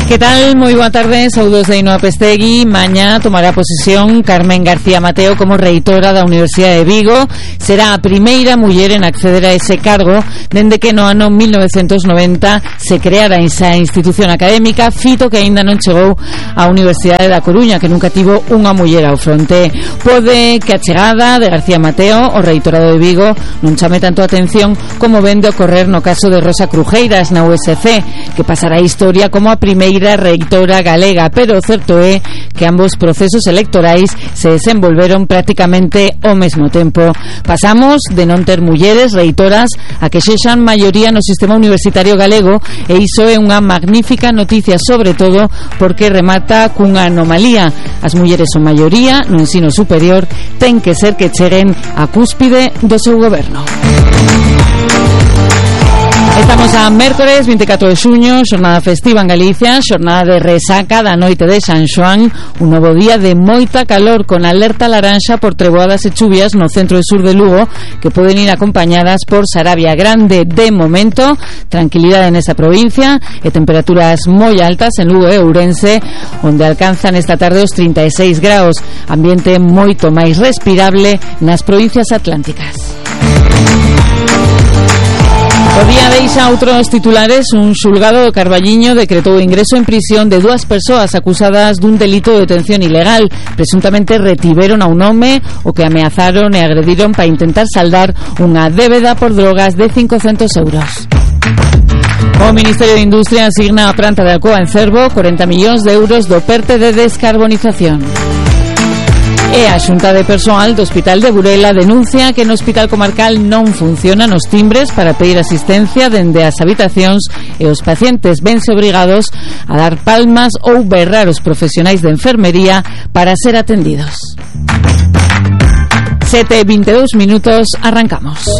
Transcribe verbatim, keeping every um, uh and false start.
Que tal? Moi boa tarde, saudos de Ainhoa Pestegui. Mañá tomará posesión Carmen García Mateo como reitora da Universidade de Vigo. Será a primeira muller en acceder a ese cargo dende que no ano mil novecentos noventa se creara esa institución académica, fito que aínda non chegou á Universidade da Coruña, que nunca tivo unha muller ao fronte. Pode que a chegada de García Mateo ao reitorado de Vigo non chame tanto a atención como vende ocorrer no caso de Rosa Crujeiras na U S C, que pasará a historia como a primeira reitora galega, pero o certo é que ambos procesos electorais se desenvolveron prácticamente ao mesmo tempo. Pasamos de non ter mulleres reitoras a que sexan maioría no sistema universitario galego, e iso é unha magnífica noticia, sobre todo porque remata cunha anomalía. As mulleres son maioría no ensino superior, ten que ser que cheguen á cúspide do seu goberno. Estamos a mércores vinte e catro de xuño, xornada festiva en Galicia, xornada de resaca da noite de San Xoán, un novo día de moita calor con alerta laranxa por treboadas e chuvias no centro e sur de Lugo, que poden ir acompañadas por Sarabia Grande. De momento, tranquilidade nesa provincia e temperaturas moi altas en Lugo e Ourense, onde alcanzan esta tarde os trinta e seis graus, ambiente moito máis respirable nas provincias atlánticas. O día deixa outros titulares. Un xulgado do Carballiño decretou o ingreso en prisión de dúas persoas acusadas dun delito de detención ilegal. Presuntamente retiveron a un home o que ameazaron e agrediron para intentar saldar unha débeda por drogas de cincocentos euros. O Ministerio de Industria asigna a planta de Alcoa en Cervo corenta millóns de euros do PERTE de descarbonización. E a Xunta de Persoal do Hospital de Burela denuncia que no Hospital Comarcal non funcionan os timbres para pedir asistencia dende as habitacións e os pacientes vense obrigados a dar palmas ou berrar os profesionais de enfermería para ser atendidos. sete e vinte e dous minutos, arrancamos.